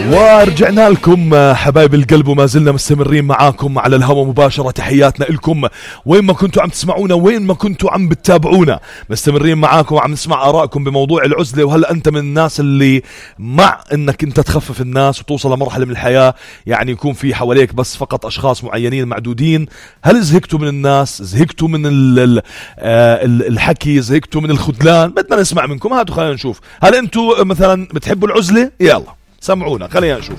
ورجعنا لكم حبايب القلب وما زلنا مستمرين معاكم على الهواء مباشرة. تحياتنا لكم وين ما كنتوا عم تسمعونا وين ما كنتوا عم بتتابعونا، مستمرين معاكم وعم نسمع آرائكم بموضوع العزلة. وهل أنت من الناس اللي مع أنك أنت تخفف الناس وتوصل لمرحلة من الحياة يعني يكون في حواليك بس فقط أشخاص معينين معدودين؟ هل زهقتوا من الناس؟ زهقتوا من الحكي؟ زهقتوا من الخذلان؟ بدنا نسمع منكم. هاتوا خلينا نشوف، هل أنتوا مثلا بتحبوا العزلة؟ يلا سمعونا خلينا نشوف.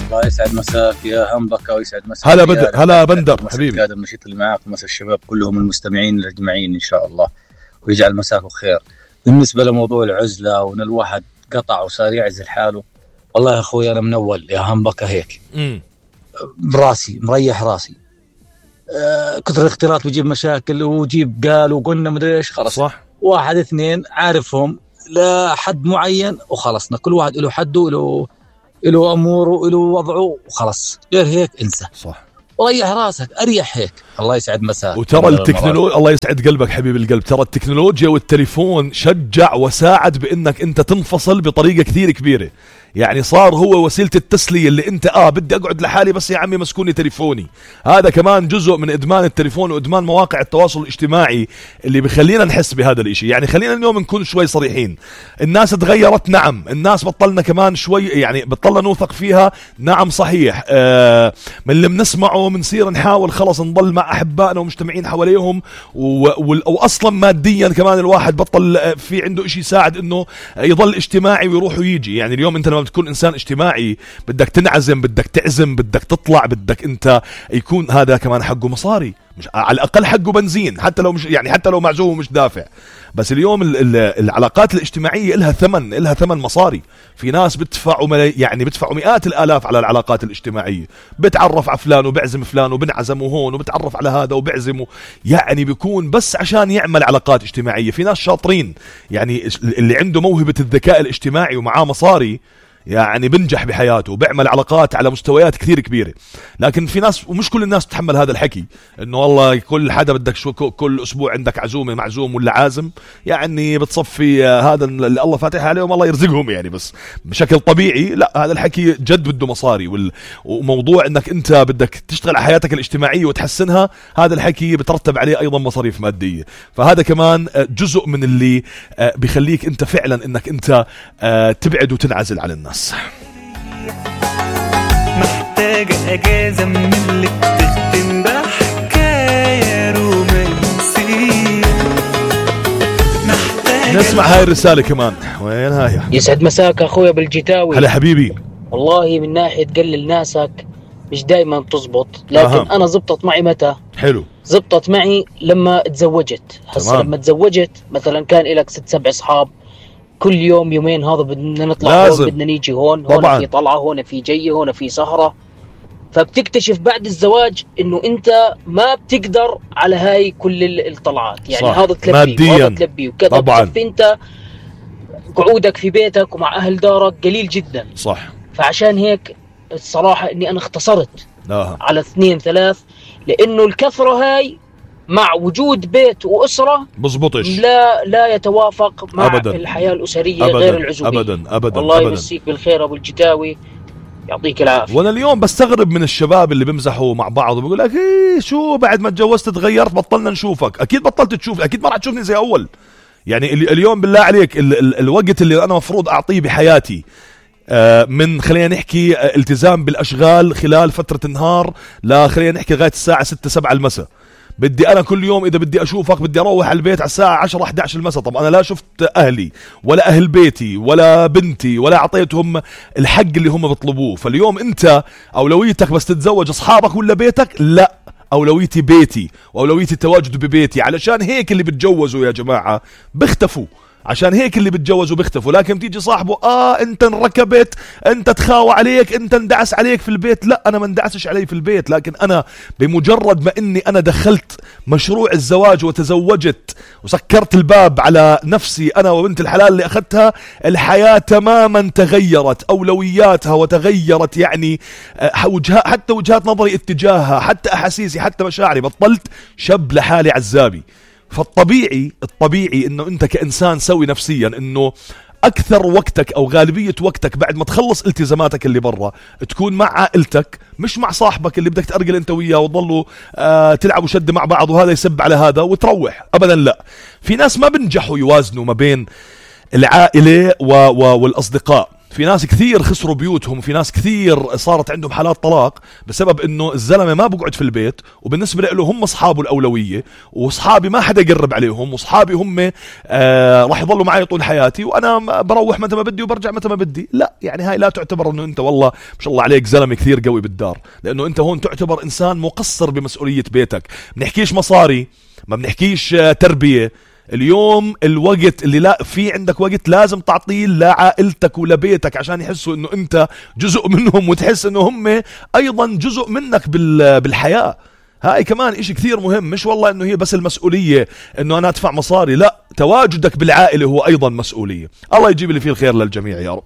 الله يسعد مساك يا همبكة ويسعد مساك. هلا بندر حبيبي. هذا النشيط اللي معاك ومسا الشباب كلهم المستمعين الاجمعين ان شاء الله، ويجعل مساكم خير. بالنسبة لموضوع العزلة وان الواحد قطع وصار يعزل حاله، والله يا اخوي انا من اول يا همبكة هيك براسي مريح راسي. كثر الاختلاط بيجيب مشاكل وجيب قال وقلنا مدري ايش، خلص صح. واحد اثنين عارفهم لحد معين وخلصنا، كل واحد له حده له اموره له وضعه وخلص، غير هيك انسى. صح. وريح راسك اريح هيك. الله يسعد مساك. وترى التكنولوجيا، الله يسعد قلبك حبيب القلب، ترى التكنولوجيا والتليفون شجع وساعد بانك انت تنفصل بطريقه كثير كبيره. يعني صار هو وسيله التسليه اللي انت بدي اقعد لحالي بس يا عمي مسكوني تليفوني. هذا كمان جزء من ادمان التليفون وادمان مواقع التواصل الاجتماعي اللي بخلينا نحس بهذا الاشي. يعني خلينا اليوم نكون شوي صريحين، الناس تغيرت، نعم. الناس بطلنا كمان شوي يعني بطلنا نوثق فيها، نعم صحيح. من اللي بنسمعه بنصير نحاول خلص نضل مع احبائنا ومجتمعين حواليهم، واصلا ماديا كمان الواحد بطل في عنده اشي يساعد انه يضل اجتماعي ويروح ويجي. يعني اليوم انت لما بتكون انسان اجتماعي بدك تنعزم، بدك تعزم، بدك تطلع، بدك انت يكون هذا كمان حقه مصاري، مش على الاقل حقه بنزين، حتى لو مش يعني حتى لو معزوم ومش دافع. بس اليوم العلاقات الاجتماعيه لها ثمن مصاري. في ناس بيدفعوا مئات الالاف على العلاقات الاجتماعيه، بتعرف على فلان وبعزم فلان وبنعزم هون وبتعرف على هذا وبعزمه، يعني بيكون بس عشان يعمل علاقات اجتماعيه. في ناس شاطرين يعني اللي عنده موهبه الذكاء الاجتماعي ومعاه مصاري يعني بنجح بحياته وبيعمل علاقات على مستويات كثير كبيرة. لكن في ناس، ومش كل الناس تتحمل هذا الحكي، انه والله كل حدا بدك كل اسبوع عندك عزومة معزوم ولا عازم، يعني بتصفي هذا اللي الله فاتح عليهم الله يرزقهم يعني. بس بشكل طبيعي لا، هذا الحكي جد بده مصاري، وموضوع انك انت بدك تشتغل على حياتك الاجتماعية وتحسنها، هذا الحكي بترتب عليه ايضا مصاريف مادية. فهذا كمان جزء من اللي بيخليك انت فعلا انك انت تبعد وتنعزل عن الناس. محتاجة اجازة من اللي بتختم بحكاية رومانسية. نسمع هاي الرسالة كمان. وين هاي؟ يسعد مساك اخويا بالجتاوي. هلا حبيبي. والله من ناحية تقلل ناسك مش دايما تزبط، لكن انا زبطت معي متى؟ حلو. زبطت معي لما تزوجت. هسه لما تزوجت مثلا كان لك 6-7 اصحاب، كل يوم يومين هذا بدنا نطلع هون، بدنا نيجي هون في طلعة، هون في جية، هون في سهرة. فبتكتشف بعد الزواج انه انت ما بتقدر على هاي كل الطلعات، يعني هذا تلبي وهذا تلبي وكذا. بتصفي انت قعودك في بيتك ومع اهل دارك قليل جدا. صح. فعشان هيك الصراحة اني انا اختصرت على 2-3، لانه الكثرة هاي مع وجود بيت وأسرة بزبطش، لا يتوافق مع أبداً الحياة الأسرية أبداً غير العزوبية. أبداً والله يمسيك بالخير أبو الجتاوي، يعطيك العافية. وانا اليوم بستغرب من الشباب اللي بيمزحوا مع بعض وبيقول لك إيه شو بعد ما تجوزت تغيرت، بطلنا نشوفك. أكيد بطلت تشوف، أكيد ما راح تشوفني زي أول. يعني اليوم بالله عليك الوقت اللي أنا مفروض أعطيه بحياتي من خلينا نحكي التزام بالأشغال خلال فترة النهار، لا خلينا نحكي لغاية الساعة 6-7 المساء، بدي أنا كل يوم إذا بدي أشوفك بدي أروح على البيت على الساعة 10-11 المساء. طب أنا لا شفت أهلي ولا أهل بيتي ولا بنتي ولا أعطيتهم الحق اللي هم بيطلبوه. فاليوم أنت أولويتك بس تتزوج أصحابك ولا بيتك؟ لا، أولويتي بيتي وأولويتي التواجد ببيتي. علشان هيك اللي بتجوزوا يا جماعة بيختفوا، عشان هيك اللي بتجوزوا بيختفوا. لكن تيجي صاحبه انت انركبت، انت تخاوى عليك، انت اندعس عليك في البيت. لا، انا ما اندعسش علي في البيت، لكن انا بمجرد ما اني انا دخلت مشروع الزواج وتزوجت وسكرت الباب على نفسي انا وبنت الحلال اللي اخذتها، الحياة تماما تغيرت اولوياتها وتغيرت يعني حتى وجهات نظري اتجاهها، حتى احاسيسي، حتى مشاعري. بطلت شاب لحالي عزابي. فالطبيعي انه انت كإنسان سوي نفسيا انه أكثر وقتك أو غالبية وقتك بعد ما تخلص التزاماتك اللي برا تكون مع عائلتك، مش مع صاحبك اللي بدك تأرجل أنت وياه وتضلوا تلعبوا شد مع بعض وهذا يسب على هذا وتروح. أبدا لا. في ناس ما بنجحوا يوازنوا ما بين العائلة والأصدقاء. في ناس كثير خسروا بيوتهم، وفي ناس كثير صارت عندهم حالات طلاق بسبب انه الزلمة ما بقعد في البيت، وبالنسبة له هم اصحابه الأولوية، واصحابي ما حدا يقرب عليهم، واصحابي هم راح يضلوا معي طول حياتي، وانا بروح متى ما بدي وبرجع متى ما بدي. لا يعني هاي لا تعتبر انه انت والله ما شاء الله عليك زلمة كثير قوي بالدار، لانه انت هون تعتبر انسان مقصر بمسؤولية بيتك. بنحكيش مصاري، ما بنحكيش تربية. اليوم الوقت اللي لا في عندك وقت لازم تعطيه لعائلتك ولبيتك عشان يحسوا انه انت جزء منهم، وتحس انه هم ايضا جزء منك بالحياة. هاي كمان اشي كثير مهم، مش والله انه هي بس المسؤولية انه انا ادفع مصاري، لا، تواجدك بالعائلة هو ايضا مسؤولية. الله يجيب اللي فيه الخير للجميع يا رب.